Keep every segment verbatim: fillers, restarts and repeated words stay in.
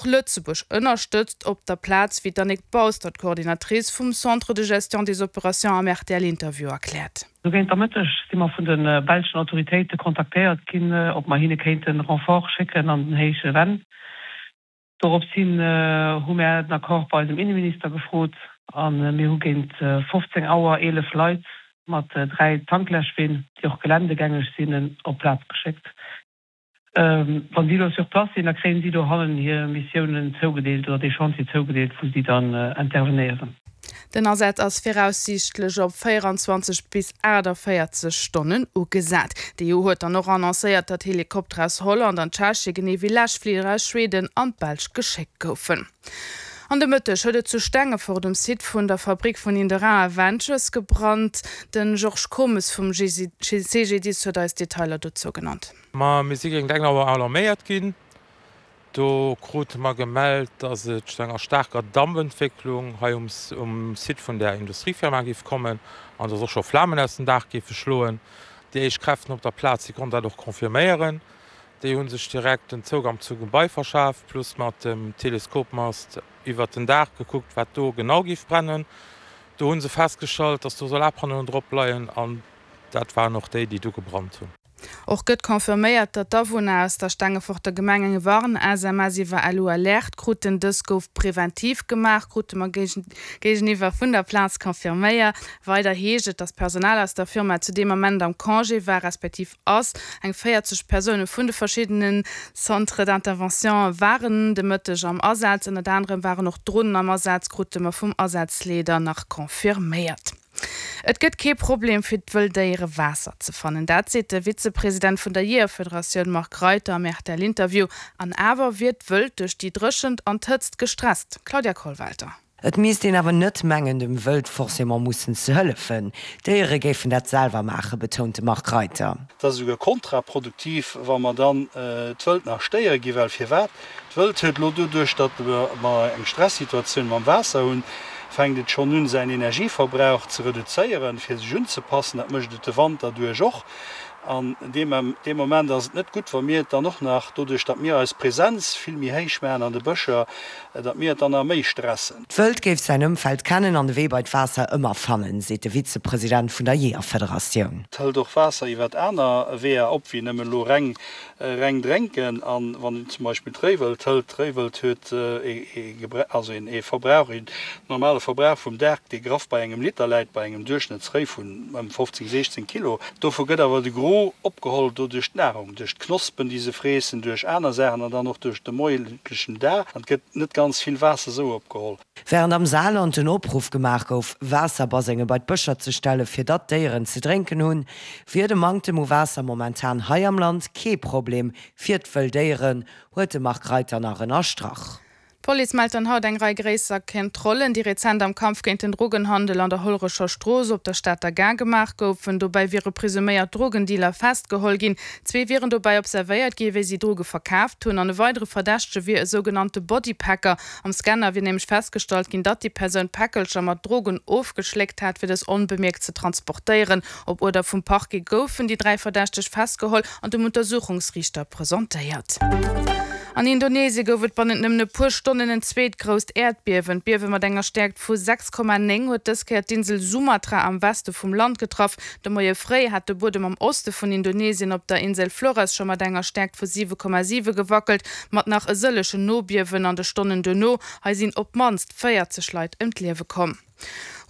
Och Lëtzebuerg ënnerstëtzt op der Plaz, wéi d'Annick Baustert, Coordinatrice vum Centre de gestion des opérations am R T L-Interview erkläert. Sou géint der Mëtteg si mer vun de belschen Autoritéite kontaktéiert ginn, ob mer hinne kéinte Renfort schécken an den Héije Venn. Doropshin hu mer den Accord bei eisem Inneminister gefrot a mir hu géint fofzéng Auer eelef Leit mat dräi Tankläschween, déi och geländegängeg sinn, op d'Plaz geschéckt. Wann si elo sur place sinn, da kréien si dohannen hir Missiounen zougedeelt oder dee Chantier zougedeelt, wou si dann intervenéieren. Den Asaz ass viraussiichtlech op véierenzwanzeg bis aachtavéierzeg Stonnen ugesat. D'E U huet dann och annoncéiert, datt Helikopter aus Holland an Tschechien, genee wéi Läschfliger aus Schweden an d'Belsch geschéckt goufen. An de Mëtteg huet et zu Stengefort um Site vun der Fabrik vun Indera Ventures gebrannt. Den Georges Comes vum C G D I S huet eis Detailer dozou genannt. Ma mir si géint eng Auer alarméiert ginn. Do krute mer gemellt, datt et zu enger staarker Dampentwécklung hei um um Site vun der Industriefirma géif kommen an datt och scho Flamen aus dem Daach géife schloen. Déi éischt Kräften op der Plaz, déi konnten dat och confirméieren. Déi hu sech direkt den Zougang zum Gebai verschaaft, plus mat dem Teleskopmast iwwert den Daach gekuckt, wat do genau géif brennen. Do hu se festgestallt, datt do Solarpannoen drop leien an dat waren och déi, déi do gebrannt hunn. Och gëtt confirméiert, datt d'Awunner aus der Stengeforter Gemeng eng Warn-S M S iwwer L U Alert kruten. Dës gouf preventiv gemaach, krute mer géigeniwwer vun der Plaz confirméiert. Weider heescht et, datt d'Personal aus der Firma zu deem Ament am Congé war, respektiv ass. Eng véierzeg Persoune vun de verschiddenen Centres d'intervention waren de Mëtteg am Asaz. Ënnert anerem waren och Dronen am Asaz, krute mer vum Asazleeder nach confirméiert. Et gëtt kee Problem fir d'Wëlldéiere Waasser ze fannen. Dat seet de Vizepresident vun der Jeeërfederatioun Marc Reiter am R T L-Interview. An awer wier d'Wëld duerch déi Dréchent an d'Hëtzt gestresst. Claudia Kollwelter. Et misst een awer net mengen, dem Wëld forcément mussen ze hëllefen. D'Déiere géifen dat selwer maachen, betount de Marc Reiter. Dat ass esouguer kontraproduktiv, wa mer dann d'Wëld nach stéiere ginn, well firwat? D'Wëld huet elo doduerch, datt mer eng Stressituatioun mam Waasser hunn, fänkt et schonn un, säin Energieverbrauch ze reduzéieren, fir sech unzepassen. Dat mécht et de Wanter duerch och. An deem deem Moment ass et net gutt, wa mir et dann och nach, doduerch datt mir eis Presenz vill méi héich maachen an de Bëscher, datt mir et dann nach méi stressen. D'Wëld géif säin Ëmfeld kennen an de Wee bei d'Waasser ëmmer fannen, seet de Vizepresident vun der Jeeërfederatioun. Et hëlt och Waasser iwwert aner Weeër op wéi nëmmen elo reng reng drénken. An wann een zum Beispill d'Réiwëld hëlt, d'Réiwëld huet ee also een ee Verbrauch, een normale Verbrauch vum Dag, dee graff bei engem Liter läit, bei engem Duerchschnëttsréi vun ëm fofzéng, siechzéng Kilo. Dovu gëtt awer de Gros opgeholl do duerch d'Nahrung, duerch d'Knospen, déi se freessen, duerch aner Saachen an dann och duerch de moieslechen Dag. An et gëtt net ganz vill Waasser esou opgeholl. Wärend am Saarland den Opruff gemaach gouf, Waasserbasenge bei d'Bëscher ze stellen, fir datt d'Déieren ze drénken hunn, wier de Manktem u Waasser momentan hei am Land kee Problem fir d'Wëlldéieren, huet de Marc Reiter nach ënnerstrach. D'Police mellt dann haut eng Rei gréisser Kontrollen, déi rezent am Kampf géint den Drogenhandel an der Hollerecher Strooss op der Stater Gare gemaach goufen. Dobäi wiere presuméiert Drogendealer festgeholl ginn. Zwee wieren dobäi observéiert ginn, wéi si Droge verkaaft hunn. An e weidere Verdächtege wier e sougenannte Bodypacker. Am Scanner wier nämlech festgestallt ginn, datt déi Persoun Päckelcher mat Drogen ofgeschléckt hat, fir dës onbemierkt ze transportéieren. Op Uerder vum Parquet goufen déi dräi Verdächteg festgeholl an dem Untersuchungsriichter presentéiert. An Indonesie gouf et bannent nëmmen e puer Stonnen en zweet grousst Äerdbiewen. D'Biewe mat enger Stäerkt vu sechs Komma néng huet dës Kéier d'Insel Sumatra am Weste vum Land getraff. De Moie fréi hat de Buedem am Oste vun Indonesien op der Insel Flores scho mat enger Stäerkt vu siwe Komma siwe gewackelt, mat nach e sëllegen Nobiewen an de Stonnen duerno. Hei sinn op d'mannst véierzeg Leit ëm d'Liewe komm.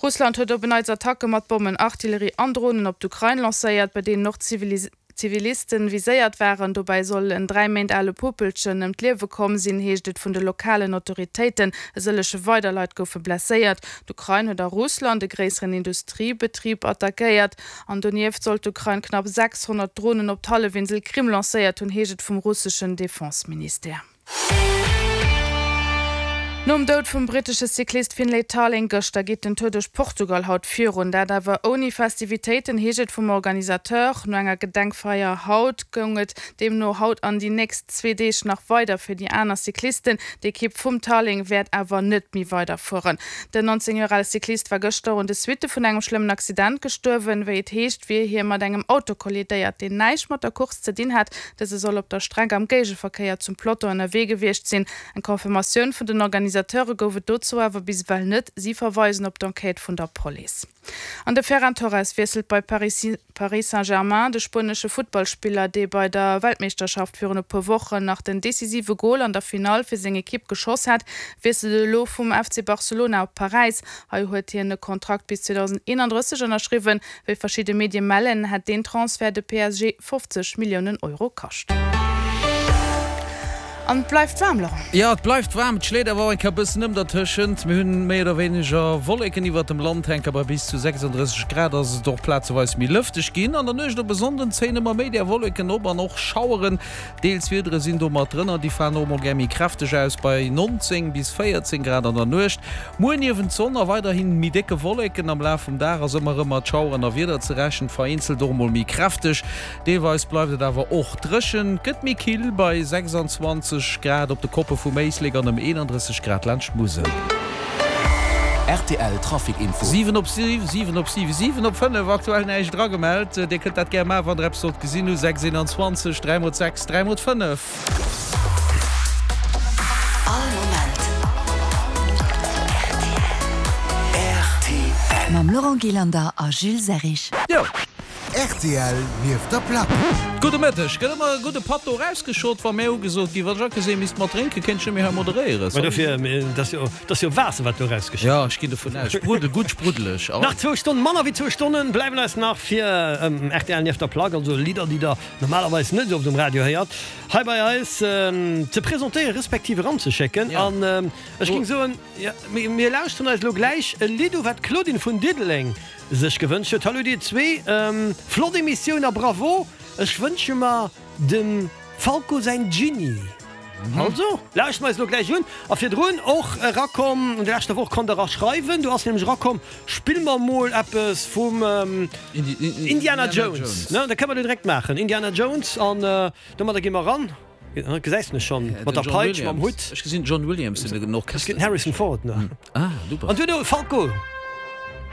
Russland huet op en Neits Attacke mat Bommen, Artillerie an Dronen op d'Ukrain lancéiert, bei deenen och Zivilisten viséiert waren. Dobäi soll en dräi Méint ale Puppelchen ëm d'Liewe komm sinn, heescht et vun de lokalen Autoritéiten. E sëllege weider Leit goufe blesséiert. D'Ukrain huet a Russland e gréisseren Industriebetrib attackéiert. An donieft soll d'Ukrain knapp sechshonnert Dronen op d'Hallefinsel Krim lancéiert hunn, heescht et vum russeschen Defenseministère. Nom Doud vum brittesche Cyclist Finlay Tarling gëschter geet den Tour duerch Portugal haut virun. Dat awer ouni Festivitéiten, heescht et vum Organisateur. No enger Gedenkfeier haut goung et deemno haut an déi nächst zwee Deeg nach weider fir déi aner Cyclisten. D'Ekipp vum Tarling wäert awer net méi weiderfueren. Den neunzéng Joer ale Cyclist war gëschter un de Suitte vun engem schlëmmen Accident gestuerwen. Wéi et heescht, wier hie mat engem Auto kollidéiert, deen näischt mat der Course ze dinn hat. Dëse soll op der Streck am Géigeverkéier zum Peloton ënnerwee gewiescht sinn. Eng Confirmatioun vun den Organisateure gouf et dozou awer bis ewell net. Si verweisen op d'Enquête vun der Police. An de Ferran Torres wiesselt bei Paris Paris Saint-Germain. De spuenesche Futtballspiller, dee bei der Weltmeeschterschaft virun e puer Wochen nach den decisive Gol an der Finall fir seng Ekipp geschoss hat, wiesselt elo vum F C Barcelona op Paräis. Hei huet hien e Kontrakt bis zweedausendeenandrësseg ënnerschriwwen. Wéi verschidde Medie mellen, hätt deen Transfert de P S G fofzeg Milliounen Euro kascht. An et bleift waarm, Laurent. Jo, et bleift waarm, et schléit awer och eng Kéier e bëssen ëm dertëschent. Mir hunn méi oder wéineger Wolleken iwwert dem Land hänken, bei bis zu sechsunddrësseg Grad ass et och plazeweis méi lëfteg ginn. An der Nuecht op e Sonnden zéien ëmmer méi där Wolleken op an och Schaueren, deels Wiedere sinn do mat drënner. Déi falen och mol gär méi kräfteg aus, bei nonzéng bis véierzéng Grad an der Nuecht. Muer niewent Sonn a weiderhi méi décke Wolleken. Am Laf vum Dag ass ëmmer erëm mat Schaueren a Wieder ze rechnen, vereenzelt och mol méi kräfteg. Deelweis bleift et awer och dréchen. Et gëtt méi kill bei sechsundzwanzeg Grad op de Koppe vum Éislek an ëm eenandrësseg Grad laanscht d'Musel. Rtl Trafic Info. Siwen op siwen, siwen op siwen, siwen op fënnef, aktuell näischt eragemellt. Dir kënnt dat gär maachen, wann der eppes sollt gesinn hu, sechs eenanzwanzeg, dräi mol sechs, dräi mol fënnef. All Moment rtl. Mam Laurent Gillander a Jules Serrig. Jo. Rtl nieft der Plack. Gudde Mëtteg. Gëtt ëmmer e gudde Patt do erausgeschott, wa mär ugesot ginn. Wann ech agesinn, misst mat drénken, kéint ech net méi hei moderéieren. Mä dofir, et ass jo, et ass jo Waasser, wat do erausgeschott Jo, ech ginn dovun aus. Spruddel, gutt spruddeleg. Nach zwou Stonnen, manner wéi zwou Stonnen bleiwen eis nach fir rtl nieft der Plack, also Lidder, déi der normalerweis net esou oft um Radio héiert, hei bei eis ze presentéieren, respektiv eranzeschécken. An ech géing soen, jo, mir lauschteren eis elo gläich e Lidd u, wat d'Claudine vun Diddeleng sech gewënscht huet. Hallo dir zwee, flott Emissioun a bravo, ech wënsche mer dem Falco säin Jeanny. Also lauschten mer eis elo gläich un. A virdrun och erakomm, an der leschter Woch konnt der era schreiwen, do ass nämlech erakomm, spill mer mol eppes vum Indiana Jones, ne? Dat kënne mer elo direkt maachen, Indiana Jones, an domadder gi mer eran. Gesäis mech schon mat der Peitsch, mam Hutt. Ech gesinn John Williams, den Orchester. Ech gesinn Harrison Ford, ne? Ah, du bass. An duerno Falco,